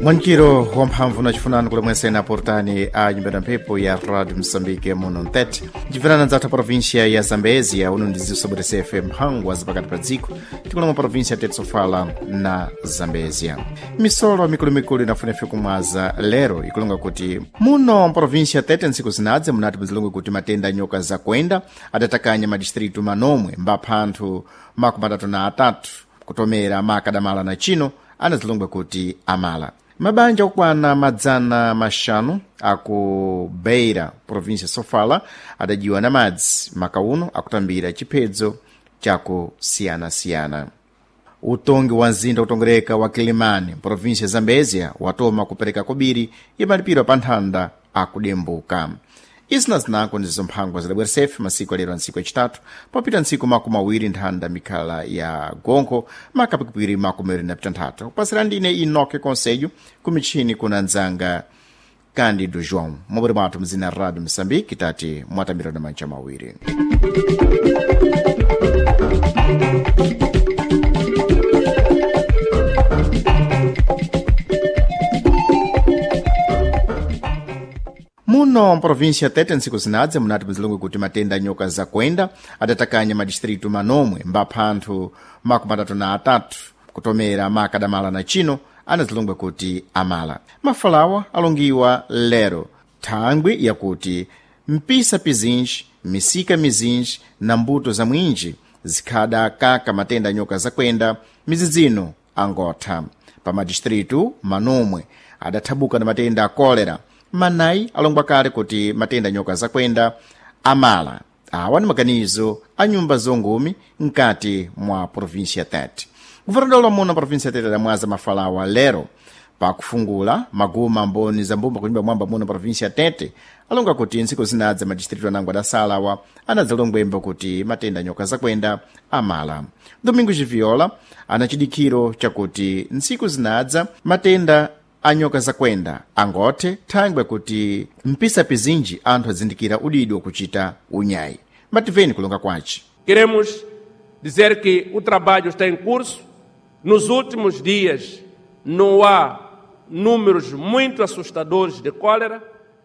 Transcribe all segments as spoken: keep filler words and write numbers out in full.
Mwankiro wamphamvu nachifunani kule mwensene aportani a nyumba ya mphepo ya Radio Msambike muno mtete ncifunana nzathu província ya Zambezia uno ndizisobweresefe mphangwa zapakati pa dziko tikulomwa província tete sofala na Zambezia. Misolo mikulumikulu inafunefe kumwaza lero ikulonga kuti muno mprovíncia tete ntsiku zinadze munati muzilonge kuti matenda a nyoka zakuenda adatakanya madistritu manomwe mbapha anthu makumi atatu na atatu kutomera makadamala na chino anazilongwe kuti amala. Mabanja okwana madzana maxanu aku Beira, província Sofala, adajiwa na madzi makauno akutambira chiphedzo chakusiyanasiyana. Utongi wa mzinda utongereka wa Kilimani, província ya Zambezia, watoma kupereka kobiri imalipiro pa nthanda akudembuka. Izi na zinako ndizo mphangwa zidabweresefe masiku alero ntsiku yacitatu papita ntsiku makumi awiri nthanda mikhala ya gonkho makapikipiri makumi awiri na pitanthatu. Kupasira ndine Enoque Conselho kumitchini kuna ndzanga Cândido João mobwere mwathu mzina Radio Moçambique tati mwatambira na manja mawiri. Muno mprovíncia Tete ntsiku zinadze munati muzilonge kuti matenda a nyoka zakuenda adatakanya madistritu manomwe mbapha anthu makumi atatu na atatu kutomera makadamala na chino anazilongwe kuti amala. Mafalawa alongiwa lero thangwi yakuti mpisa pizinji misika mizinji na mbuto za mwinji zikhada kaka matenda a nyoka zakuenda mizidzino angotha. Pa madistritu manomwe adathabuka na matenda a kolera manayi alongwa kale kuti matenda nyoka zakuenda amala. Awa ni maganizo a nyumba zongumi mkati mwa província Tete. Guvernador muno província Tete adamwaza mafalawa lero pakufungula maguma mboni za mbumba kunyumba mwamba muno província Tete alonga kuti ntsiku zinadza madistritu anango adasalawa anadzalongwemba kuti matenda nyoka zakuenda amala. Domingo Giviola ana chidikhiro chakuti ntsiku zinadza matenda a nyoka zakuenda angothe thangwe kuti mpisa pizinji anthu azindikira udidi wakuchita unyayi. Mativeni kulonga kwace. Queremos dizer que o trabalho está em curso. Nos últimos dias não há números muito assustadores de cólera.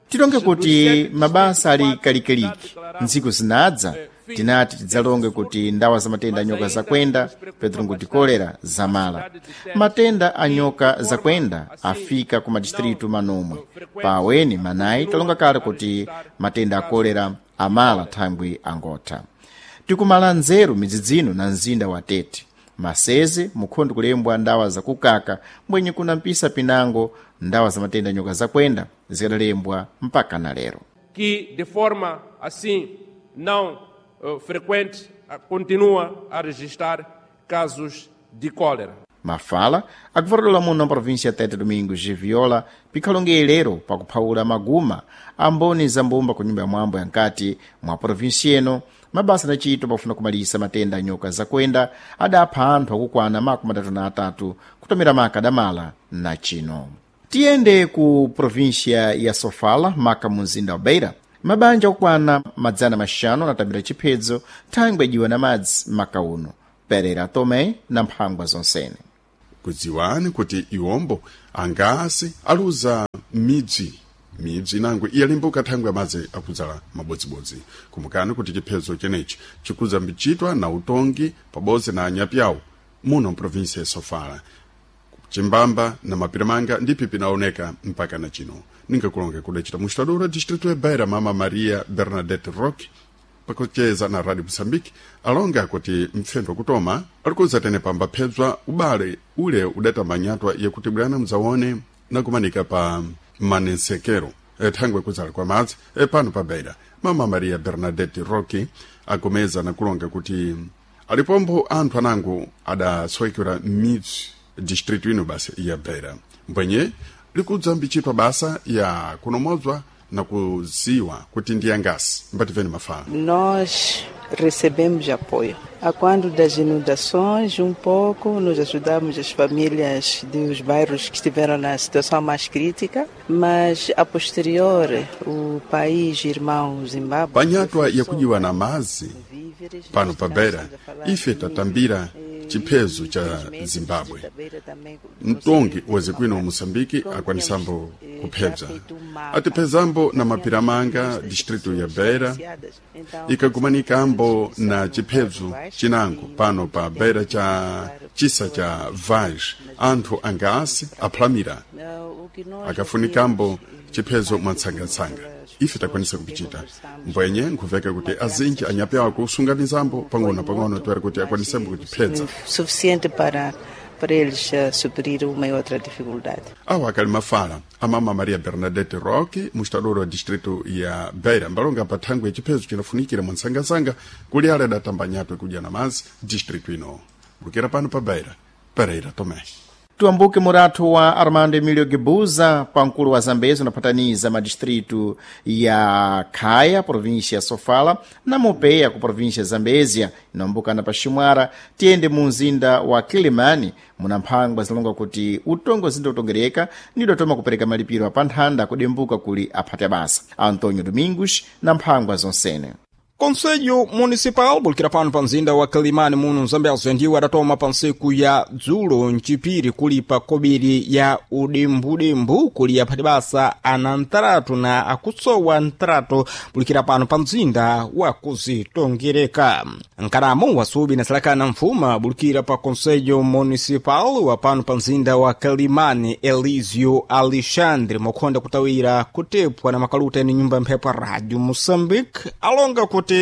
Tilonge kuti mabasa ali kalikaliki ntsiku zinadza tinati tidzalonge kuti ndawa za matenda a nyoka zakuenda petro kuti kolera zamala. Matenda a nyoka zakuenda afika ku madistritu manomwe paweni manayi talonga kale kuti matenda a kolera amala thangwi angotha. Tikumala nzeru midzidzino na mzinda wa Tete maseze mukhondo kulembwa ndawa zakukaka mbwenye kuna mpisa pinango ndawa za matenda a nyoka zakuenda zikadalembwa mpaka na lero. Que de forma assim não eh, frequente continua a registrar casos de cólera. Mafala akuvatula muno província Tete Domingos Giviola pikhalonge lero pakuphawula maguma a mboni za mbumba ku nyumba ya mwambo ya nkati mwa província ino. Mabasa anachitwa pafuna kumalisa matenda a nyoka zakuenda adapha anthu akukwana makumi atatu na atatu kutomera makadamala na chino. Tiyende ku província ya Sofala maka mu mzinda wa Beira. Mabanja okwana madzana maxanu anatambira chiphedzo thangwi ajiwa na madzi makauno. Pereira Tomé na mphangwa zonsene. Kudziwani kuti iwombo angasi aluza midzi midzi inango iyalimbuka thangwi amadzi akudzala mabodzibodzi. Kumbukani kuti chiphedzo chenechi chikudza mbichitwa na utongi pabodzi na anyapyawo muno mprovinsi ya Sofala, chimbamba na mapiramanga ndipi pinaoneka mpaka na chino. Ningakulonga kudacita mustadura distrito ya Beira mama Maria Bernadette Roque pakucheza na Radio Mosambike alonga kuti mpfendo kutoma alikuza tene pamba phedzwa ubale ule udatamanyatwa yakuti bwana mzaone nakumanika pa manensekero thangwe kudzala kwa madzi pano pa Beira. Mama Maria Bernadette Roque agomeza nakulonga kuti alipombo anthu anango adasowekera midzi distrito ino basi ya Beira mbwenye likudza mbichitwa basa ya kunomodzwa na kuziwa kuti ndi angasi mbativeni mafala. Nós recebemos apoio. A quando das inundações, um pouco, nos ajudamos as famílias dos bairros que estiveram na situação mais crítica, mas a posterior, o país irmão Zimbábue. Panyatwa yakujiwa na mazi pano pa Beira ife tatambira chiphezo cha Zimbabwe. Mtongi wa zikwino wa Moçambique akwanisambo kuphebza atiphezambo na mapira manga distrito ya Beira ikagumanika na chiphezo chinango pano pa Beira cha chisa cha Vaz anthu angaasi aphalamira akafunikambo chiphezo mwatsangatsanga ife takwanisa kupichita mbwenye nkhuveka kuti azinji anyapi ako usunganizambo pang'ono pang'ono tiwari kuti akwanisembo kutiphedza Suficiente para para eles uh, suprir uma e outra dificuldade. Awa akali mafala amama Maria Bernadette Roque, mustadoro wa distrito ya Beira, mbalonga pa thangwe chiphezo chinafunikira mwatsangatsanga kuli ale adatamba nyatwe kudya na mazi distrito ino. Bukira pano pa Beira, Pereira Tomé. Tuambuke muratu wa Armando Emilio Guebuza pankulu wa Zambezi unapataniza madistritu ya Khaya, província ya Sofala, na Mopeia ku província ya Zambezia inambukana pa Ximwara tiyende mu mzinda wa Kilimani muna mphangwa zilonga kuti utongo zinda utongereka nidotoma kupereka malipiro apanthanda kudembuka kuli aphati abasa. Antonio Domingos na mphangwa zonsene. Conselho Municipal bulikira pano pa mzinda wa Quelimane muno Zambezi ndiwo adatoma pa ntsiku ya dzulo mcipiri kulipa kobiri ya udembudembu kuli aphati basa ana ntaratu na akutsowa ntaratu bulikira pano pa mzinda wa kuzitongereka. Nkaramo wasubi na salakana mfuma bulikira pa Conselho Municipal wa pano pa mzinda wa Quelimane Elísio Alexandre mokhonda kutawira kutepwa na makaluta eni nyumba ya mphepo ya Rádio Moçambique alonga kuti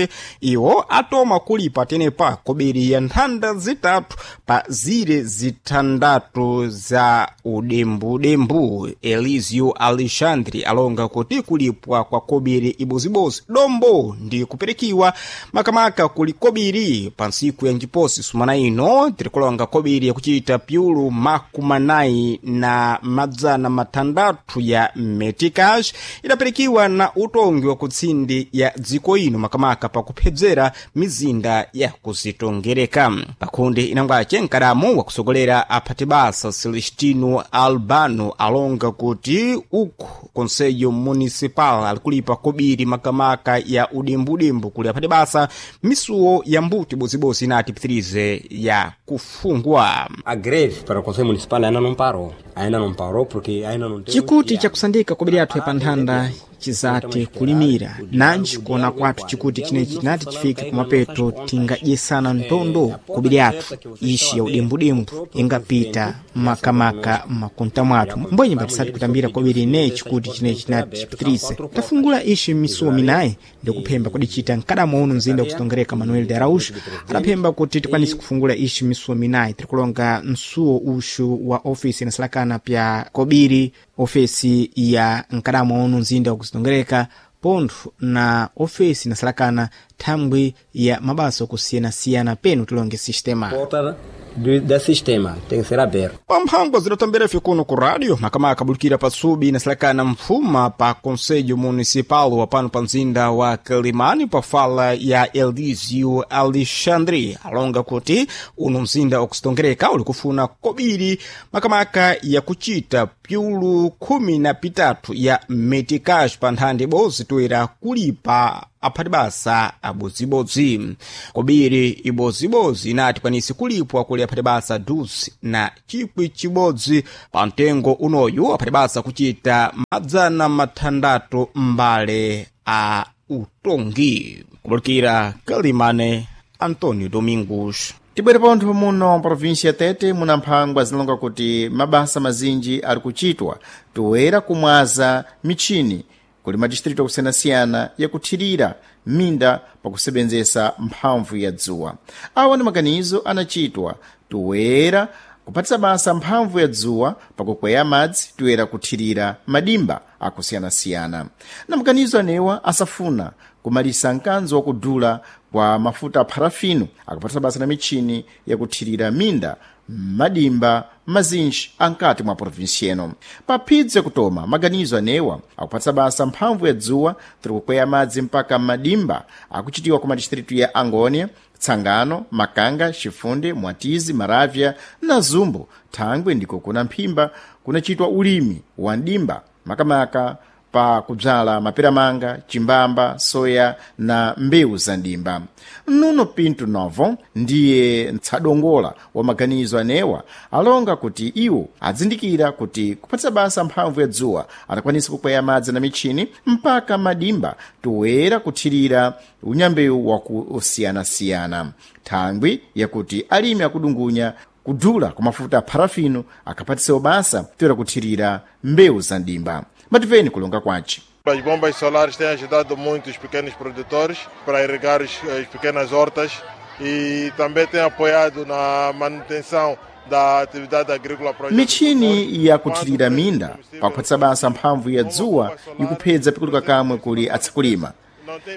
iwo atoma kulipa tenepa kobiri ya nthanda zitatu pa zire zithandatu za udembudembu. Elísio Alexandre alonga kuti kulipwa kwa kobiri ibozibozi dombo ndi kuperekiwa makamaka kuli kobiri pa ntsiku ya njiposi sumana ino tirikulonga kobiri yakuchita pyulu makumanayi na madzana mathandathu ya meticas idaperekiwa na utongi wa kutsindi ya dziko ino makamaka pakuphedzera mizinda ya kuzitongereka. Pakundi inangwace mkadamo wakusogolera aphati basa Celestino Albano alonga kuti uku Conselho Municipal alikulipa kobiri makamaka ya udembudembu kuli aphati basa misuwo ya mbuti bozibozi inati pitirize ya kufungwa. A greve para o Conselho Municipal ainda não parou. Ainda não parou porque ainda não tem. Chikuti chakusandika kobiri yathu yapanthanda chizati kulimira nanji kuona kwathu chikuti chinechi chinati chifike kumapeto tingadyesana ntondo kobiri yathu ishi ya udembudembu ingapita makamaka mmakunta mwathu mbwenye mbatisati kutambira kobiri ineyi chikuti chinechi chinati chipitirize tafungula ishi misuwo minayi ndikuphemba kudichita mkadamo uno mzinda wakusitongereka Manuel de Araújo adaphemba kuti tikwanise kufungula ishi misuwo minayi tirikulonga msuwo uxu wa ofisi inasalakana pya kobiri ofesi ya mkadamo uno mzinda wakuzitongereka pontho na ofesi inasalakana thangwi ya mabasa okusiyanasiyana penu tilonge sistema Porta do, da sistema tem que ser aberta. Pamphangwa zidatambira ife kuno ku rádio makamaka bulikira pasubi inasalakana mfuma pa Conselho Municipal wa pano pa mzinda wa Quelimane pa fala ya Elísio Alexandre alonga kuti uno mzinda wakusitongereka uli kufuna kobiri makamaka yakuchita pyulu khumi na pitatu ya meticas pa nthanda ibodzi toera kulipa aphati basa abodzibodzi. Kobiri ibodzibodzi inati kwanisi kulipwa kuli aphati basa duzi na chikwi chibodzi pa mtengo unoyu aphati basa kuchita madzana mathandatu mbale a utongi. Kubulikira Quelimane, Antonio Domingos. Tibwere pontho muno província ya Tete muna mphangwa zilonga kuti mabasa mazinji ari kuchitwa toera kumwaza michini kuli madistritu akusiyanasiyana yakuthirira minda pakusebenzesa mphamvu ya dzuwa. Awa ndi maganizo anachitwa toera kupatisa basa mphamvu ya dzuwa pakukweya madzi toera kuthirira madimba akusiyanasiyana. Na maganizo anewa asafuna kumalisa mkanzo wakudula kwa mafuta a parafino akupatisa basa na michini yakuthirira minda madimba mazinji ankati mwa provinsi eno. Paphidzi yakutoma maganizo anewa akupatisa basa mphamvu ya dzuwa tiri kukweya madzi mpaka madimba akuchitiwa ku madistritu ya Angônia, Tsangano, Makanga, Chifunde, Mwatizi, Maravya na Zumbo. Thangwe ndiko kuna mphimba kunachitwa ulimi wa ndimba makamaka pa kubzala maperamanga, chimbamba, soya na mbewu za ndimba. Nuno Pinto Novo ndiye ntsadongola wa maganizo anewa alonga kuti iwo adzindikira kuti kupatsa basa mphamvu ya dzuwa adakwanisa kukweya madzi na mitchini mpaka madimba toera kuthirira unyambewu wakusiyanasiyana, thangwi yakuti alimi akudungunya kudula kwa mafuta a parafino akapatisewo basa toera kuthirira mbewu za ndimba. Mativeni kulonga kwace. As bombas solares têm ajudado muito os pequenos produtores para irrigar as, as pequenas hortas e também têm apoiado na manutenção da atividade agrícola para os Mitchini yakuthirira minda pakupatsa basa mphamvu ya dzuwa ikuphedza pikuluka kamwe kuli atsakulima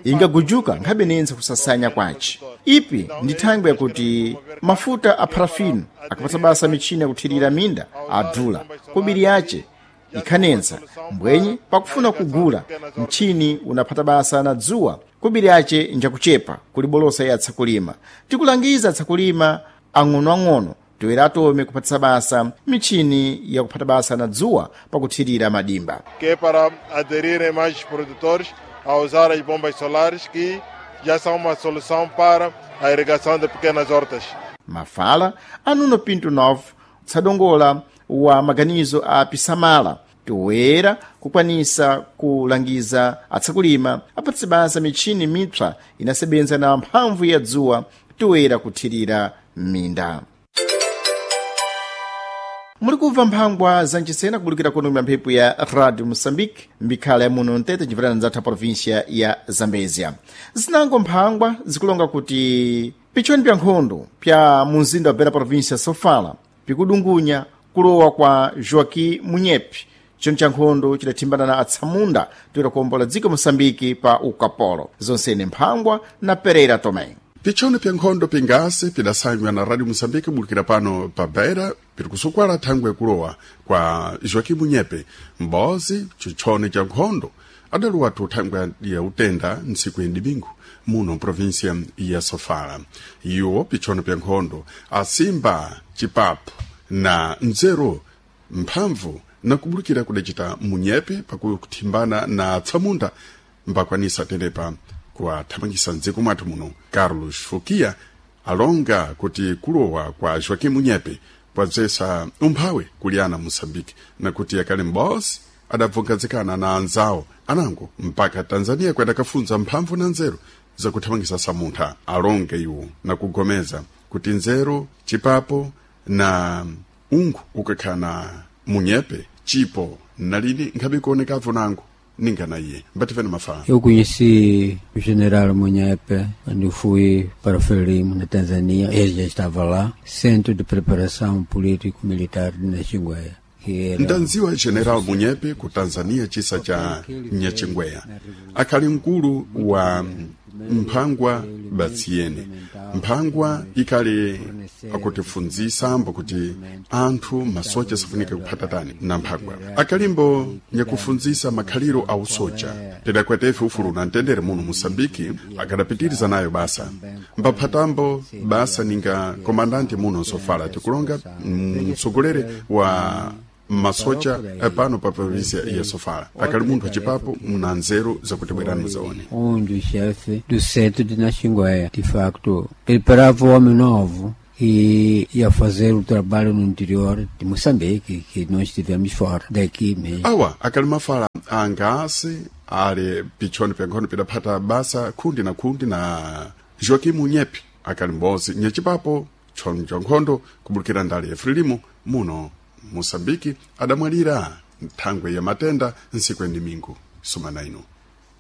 ingagujuka nkhabenense kusasanya kwace. Ipi ndi thangwi yakuti mafuta a parafino akapatsa basa mitchini yakuthirira minda adula kobiri yace ikhanensa mbwenye pakufuna kugula mtchini unaphata basa na dzuwa kobiri yace njakuchepa kuli bolosa ya atsakulima. Tikulangiza atsakulima ang'onoang'ono toera atome kuphatisa basa mitchini yakuphata basa na dzuwa pakuthirira madimba. Que é para aderirem mais produtores a usar as bombas solares, que já são uma solução para a irrigação de pequenas hortas. Mafala a Nuno Pinto Novo, tsadongola wa maganizo a Pisamala, toera kukwanisa kulangiza atsakulima apatse basa mitchini mipsa inasebenza na mphamvu ya dzuwa toera kuthirira minda. Muli kumva mphangwa za nchisena kubulukira kuno mwa mphepo ya Radio Moçambique mbikhala ya muno mtete chimverana zathu província ya Zambezia. Zinango mphangwa zikulonga kuti pichoni pya nkhondo pya munzinda wa Beira província Sofala pikudungunya kulowa kwa Joaquim Munyepi, choni cha nkhondo chidathimbana na atsamunda toera kuwombola dziko Moçambique pa ukapolo. Zonsene mphangwa na Pereira Tomé. Pichoni pya nkhondo pingasi pidasanywa na Radio Moçambique bulukira pano pa Beira piri kusukwala thangwi yakulowa kwa Joaquim Munyepe m'bozi chichoni cha nkhondo adaluwathu thangwi ya utenda ntsiku ya domingo muno província ya Sofala. Iwo pichono pya nkhondo asimba chipapo na nzeru mphamvu na kubulukira kudacita Munyepe pakuthimbana na atsamunda mbakwanisa tenepa kuwathamangisa mdziko mwathu muno. Carlos Fukia alonga kuti kulowa kwa Joaquim Munyepe kwadzesa umphawi kuli ana Moçambique na kuti akali m'bosi adabvungazikana na anzawo anango mpaka Tanzania kwedakafunza mphamvu na nzeru zakuthamangisa samuntha. Alonge iwo na kugomeza kuti nzeru chipapo na ungu ukakhala na Munyepe chipo nalini nkhabe kuonekavo nango ningana iye mbativene mafala. Eu conheci o general Munyepe quando fui para Frelimo, na Tanzânia. Ele já estava lá, Centro de Preparação Político-Militar de Nachingwea. Que era Ndanziwa General Munyepe ku Tanzania chisa cha Nyachingweya akhali mkulu wa mphangwa batsiyene mphangwa ikhali akutifunzisambo kuti anthu masocha safunika kuphatatani na mphangwa akalimbo nyakufunzisa makhaliro a usocha tidakwetefe ufulu na mtendere muno Moçambike akadapitiriza nayo basa mbaphatambo basa ninga komandante muno Sofala tikulonga mtsogoleri wa masocha pano pa província ya Sofala akali munthu achipapo muna nzeru zakuti bwerani muzaone. Um dos chefes do centro de Nachingwea. De facto, preparava o homem novo e ia fazer o trabalho no interior de Moçambique, que nós estivemos fora daqui mesmo. Awa akali mafala angasi ali pichoni pya nkhondo pidaphata basa khundi na khundi na Joaquim Munyepe akali m'bozi nyachipapo tchono cha nkhondo kubulukira ndale ya Frelimo muno Moçambique adamwalira nthangwe ya matenda ntsiku ya domingo sumana ino.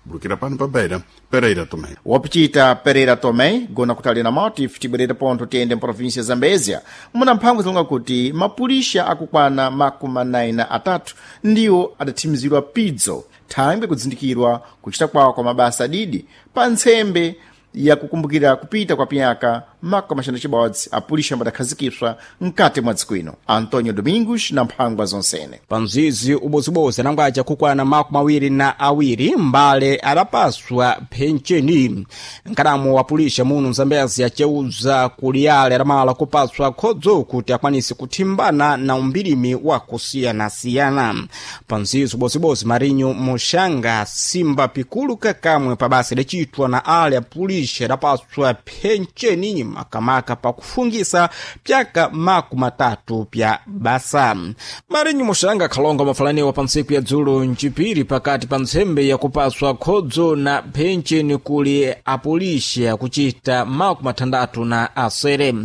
Bulukira pano pa Beira, Pereira Tomé. Wapichita Pereira Tomé gona kutali na motif tibwerere pontho tiyende mprovinsia ya Zambezia muna mphamvu zilonga kuti mapulisha akukwana makumi anayi na atatu ndiwo adathimizidwa pidzo thangwi kudzindikirwa kuchita kwawo kwa mabasa adidi pa ntsembe yakukumbukira kupita kwa piyaka makumi axanu cibodzi apulixa ambadakhazikiswa mkati mwa dziko ino. Antonio Domingos na mphangwa zonsene. Panzizi ubozibozi anangwaca kukwana makumi awiri na awiri mbale adapaswa phencheni. Nkadamu wa pulixa muno Mzambezi aceuza kuli ale adamala kupaswa khodzo kuti akwanise kuthimbana na umbirimi wa kusiyanasiyana. Panzizi ubozibozi Marinho Muxanga simba pikulu kakamwe pabasa idacitwa na ale apulixa adapaswa phencheni makamaka pakufungisa pyaka makumi matatu pya basa. Marinho Muxanga khalonga mafalaniwa pa ntsiku ya dzulo ncipiri pakati pa ntsembe yakupaswa khodzo na phencheni kuli apulixa akucita makumi mathandatu na asere.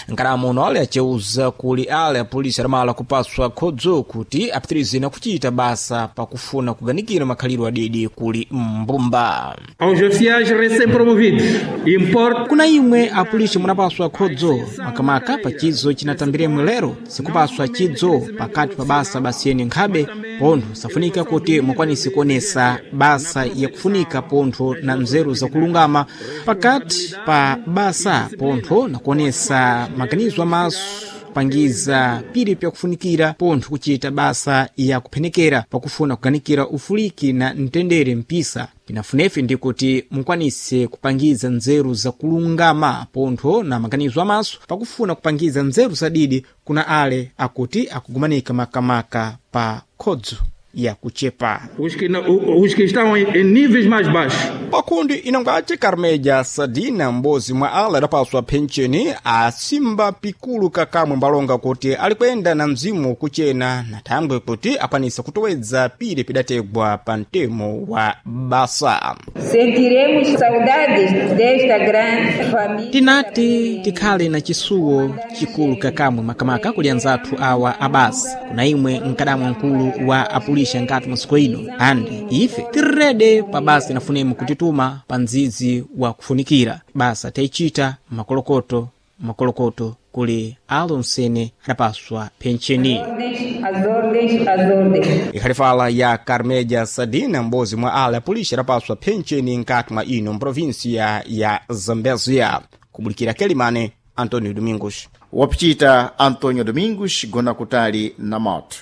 Nkadamuno ale aceuza kuli ale apulixa adamala kupaswa khodzo kuti apitirize na kucita basa pakufuna kuganikira makhalidwe adidi kuli mbumba. Aos oficiais recém-promovidos, importa Kuna imwe apulixa munapaswa khodzo makamaka pa chidzo cinatambiremwe lero sikupaswa chidzo pakati pa basa basiyeni nkhabe pontho safunika kuti mukwanise kuonesa basa yakufunika pontho na mzeru zakulungama pakati pa basa pontho na kuonesa maganizo amaso kupangiza pili pyakufunikira pontho kucita basa yakuphenekera pakufuna kuganikira ufuliki na mtendere mpisa. Pinafunefe ndi kuti mukwanise kupangiza nzeru zakulungama pontho na maganizo amaso pakufuna kupangiza nzeru zadidi kuna ale akuti akugumanika makamaka pa khodzo yakuchepa. Os que, não, os que estão em, em níveis mais baixos. Pakundi inangwace Carmeja Sadina m'bodzi mwa ala adapaswa phencheni asimba pikulu kakamwe mbalonga kuti alikwenda na mzimu kuchena na thangwe kuti akwanise kutowedza pili pidategwa pa mtemo wa basa. Sentiremos saudades desta grande família. Tinati tikhale na chisuwo chikulu kakamwe makamaka kuli anzathu awa abasa kuna imwe mkadamwa mkulu wa apulixa nkati mwa siku ino andi ife tirede pa basa inafunemo kutituma pa ndzidzi wa kufunikira basa tayicita makolokoto makolokoto kuli alonsene adapaswa phencheni. As ordens, as ordens. Ikhalifala ya Carmeja Sadina m'bodzi mwa ala apulixa adapaswa phencheni nkati mwa ino mprovinsia ya Zambezia. Kubulikira Kelimane, Antonio Domingos. Wapicita Antonio Domingos gona kutali na moto.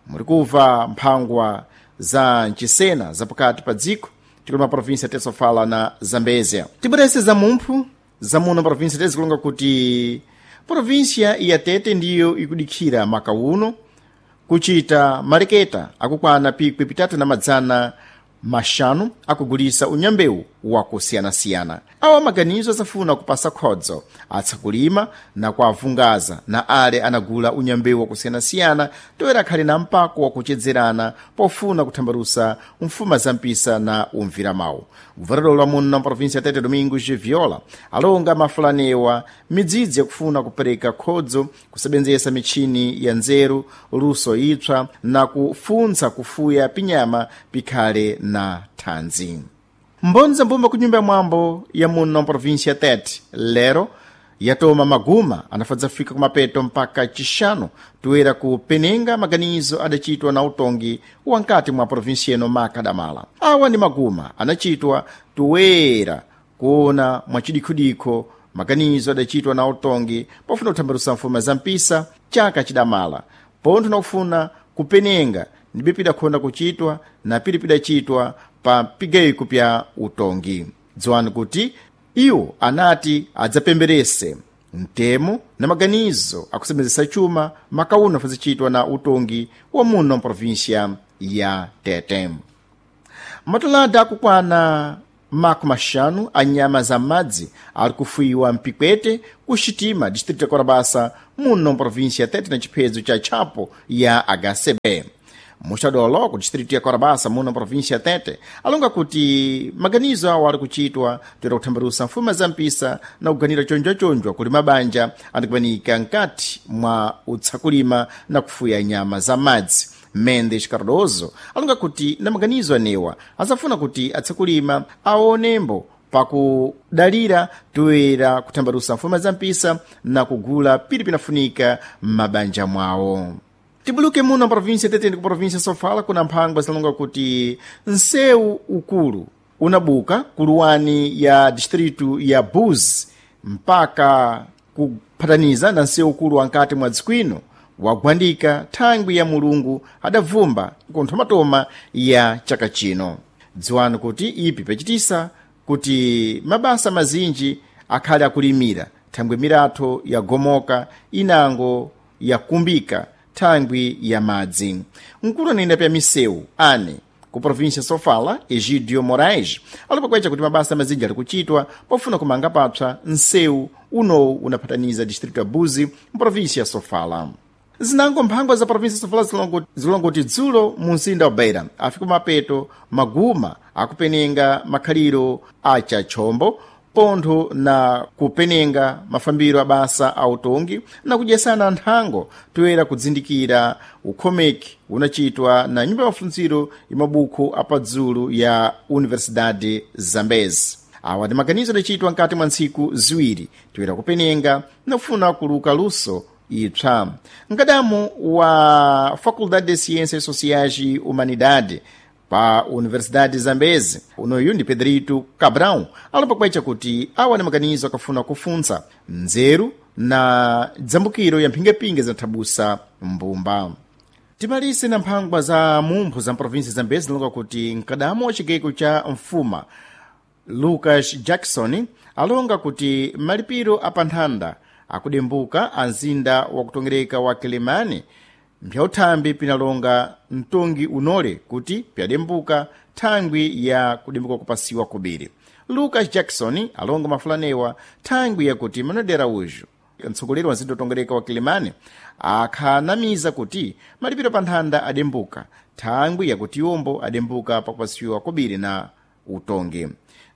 Muri kumva mphangwa za mchisena zapakati pa dziko tikuli ma província tesofala na Zambezia. Tibwerese za mumphu za muno província tezikulonga kuti província ya Tete ndiyo ikudikhira maka uno kuchita maleketa akukwana pikwi pitatu na madzana maxanu akugulisa unyambewu wakusiyanasiyana. Awa maganizo asafuna kupasa khodzo atsakulima na kuavungaza na ale anagula unyambewu wakusiyanasiyana toera akhale na mpako wakuchedzerana pofuna kuthambalusa mfuma za mpisa na umvira mawu. Guvernador wa muno na província Tete Domingos Viola alonga mafulanewa midzidzi yakufuna kupereka khodzo kusebenzesa michini ya nzeru luso itswa na kufuntsa kufuya pinyama pikhale na thanzi. Mbondza mbumba ku nyumba ya mwambo ya muno província Tete lero yatoma maguma anafadza fika kumapeto mpaka chixanu toera kupenenga maganizo adachitwa na utongi wa nkati mwa província ino makadamala. Awa ndi maguma anachitwa toera kuona mwachidikhudikho maganizo adachitwa na utongi pofuna kuthambalusa mfuma za mpisa chaka chidamala pontho nakufuna kupenenga ndibe pidakhonda kuchitwa na pili pidachitwa pa pigeiko pya utongi. Dziwani kuti iwo anati adzapemberese mtemo na maganizo akusembenzesa chuma makauno afazichitwa na utongi wa muno mprovíncia ya Tete. Matolada akukwana makumi maxanu a nyama za madzi ali kufuyiwa mpikwete ku xitima distrito ya Korabasa muno mprovíncia ya Tete na chiphedzo cha tchapo ya H C B. Muxadolo ku distrito ya Korabasa muno província ya Tete alonga kuti maganizo awo ali kuchitwa toera kuthambalusa mfuma za mpisa na kuganira chonjwachonjwa kuli mabanja andikumanika nkati mwa utsakulima na kufuya nyama za madzi. Mendes Cardoso alonga kuti na maganizo anewa azafuna kuti atsakulima aonembo pakudalira toera kuthambalusa mfuma za mpisa na kugula pili pinafunika m'mabanja mwawo. Tibuluke muno província Tete ndi ku província Sofala kuna mphangwa zilonga kuti nsewu ukulu unabuka kuluwani ya distritu ya Buzi mpaka kuphataniza na nsewu ukulu wa nkati mwa dzikwino wagwandika thangwi ya Mulungu adavumba kunthomatoma ya chaka chino. Dziwani kuti ipi pachitisa kuti mabasa mazinji akhale akulimira thangwi miratho yagomoka inango yakumbika thangwi ya madzi. Mkulu anayenda pya misewu ane ku província Sofala, Egidio Moraes, alipakwecha kuti mabasa mazinji ali kuchitwa pofuna kumanga papsa nsewu unowu unaphataniza distrito ya Buzi mprovíncia ya Sofala. Zinango mphangwa za província Sofala zilongoti dzulo mu mzinda wa Beira afika mapeto maguma akupenenga makhaliro a chachombo pontho na kupenenga mafambiro a basa a utongi na kudyesana nthango toyera kudzindikira ukhomeki unachitwa na nyumba ya mafunziro ya mabukhu apadzulu ya Universidade Zambezi. Awa ndi maganizo adachitwa mkati mwa ntsiku ziwiri toyera kupenenga nafuna kuluka luso ipsa. Mkadamu wa Faculdade de Ciências Sociais e Humanidade pa Universidade Zambezi unoyu ndi Pedrito Cabral alipakwecha kuti awa ni maganizo akafuna kufuntsa nzeru na dzambukiro ya mphingapinga zinathabusa mbumba. Timalise na mphangwa za mumpho za mprovinsi Zambezi zilonga kuti mkadamu wa chigeko cha mfuma Lucas Jackson alonga kuti malipiro apanthanda akudembuka a mzinda wakutongereka wa Kilimani mpyauthambi pinalonga mtongi unole kuti pyadembuka thangwi ya kudembuka kupasiwa kubiri. Lucas Jackson alonga mafulanewa thangwi yakuti Manuel de Araújo mtsogoleri wa mzinda wotongereka wa Kilimani akhanamiza kuti malipiro pa nthanda adembuka thangwi yakuti iwombo adembuka pakupasiwa kubiri na utongi.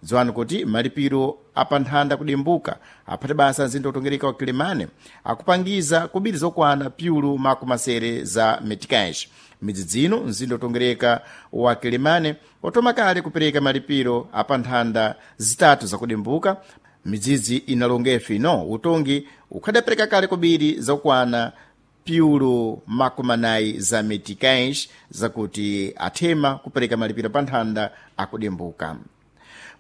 Dziwani kuti malipiro apanthanda kudembuka aphati basa mzinda wotongereka wa Kilimani akupangiza kubiri zokwana pyulu makumasere za meticais. Midzi dzino mzinda wotongereka wa Kilimani watoma kale kupereka malipiro apanthanda zitatu zakudembuka. Midzidzi inalongefe ino utongi ukhadapereka kale kubiri zokwana pyulu makumanayi za meticais zakuti athema kupereka malipiro pa nthanda akudembuka.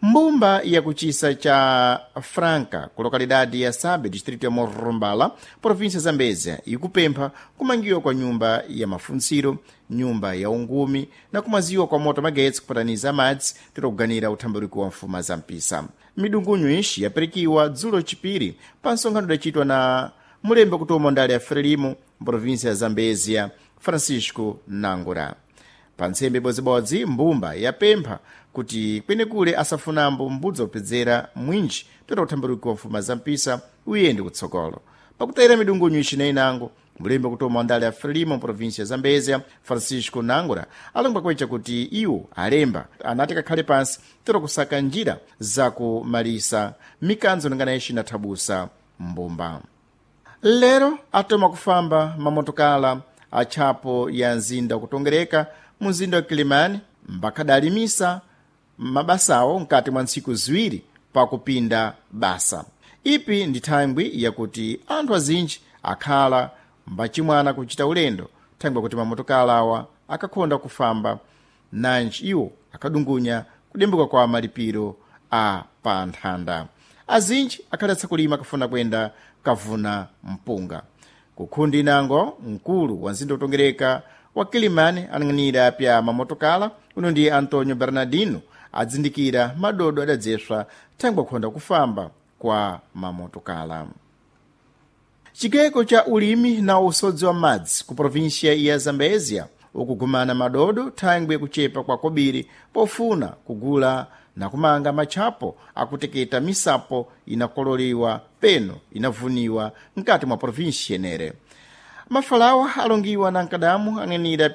Mbumba yakuchisa cha Franca ku lokalidade ya Sabe distrito ya Morrumbala província Zambezia ikupempha kumangiwa kwa nyumba ya mafuntsiro, nyumba ya ungumi na kumaziwa kwa moto magetsi kupataniza madzi titokuganira uthambaliko wa mfuma za mpisa. Midungunyu ixi yaperikiwa dzulo chipiri pa nsonkhano udachitwa na mulembe kutoma ndale ya Frelimo mprovíncia ya Zambezia Francisco Nangura. Pa ntsembe ibodzibodzi mbumba yapempha kuti kwenekule asafunambo mbudzi opedzera mwinji toera uthambaliko wa mfuma za mpisa uyende kutsogolo. Pakutayira midungunyu ixi na inango mulembe kutoma ndale ya Frelimo província ya Zambezia Francisco Nangura alongwa kwecha kuti iwo alemba anati kakhale pansi toera kusaka njira zakumalisa mikanzo ningana ixi inathabusa mbumba. Lero atoma kufamba mamotokala atchapo ya mzinda kutongereka mu mzinda wa Kilimani mbakadalimisa mabasawo mkati mwa ntsiku ziwiri pakupinda basa. Ipi ndi thangwi yakuti anthu azinji akhala mbachimwana kuchita ulendo thangwi yakuti mamotokala awa akakhonda kufamba nanji iwo akadungunya kudembuka kwa malipiro a pa nthanda. Azinji akhalatsa kulima akafuna kuyenda kavuna mpunga. Kukhundi inango mkulu wa mzinda wotongereka wa Kilimani anang'anira pya mamotokala uno ndi Antonio Bernardino adzindikira madodo adadzeswa thangwi akhonda kufamba kwa mamotokala. Chigeko cha ulimi na usodzi wa madzi ku província ya Zambezia ukugumana madodo thangwi yakuchepa kwa kobiri pofuna kugula na kumanga matchapo akuteketa misapo inakololiwa peno inavuniwa mkati mwa província yenere. Mafalawa alongiwa na mkadamu ang'anira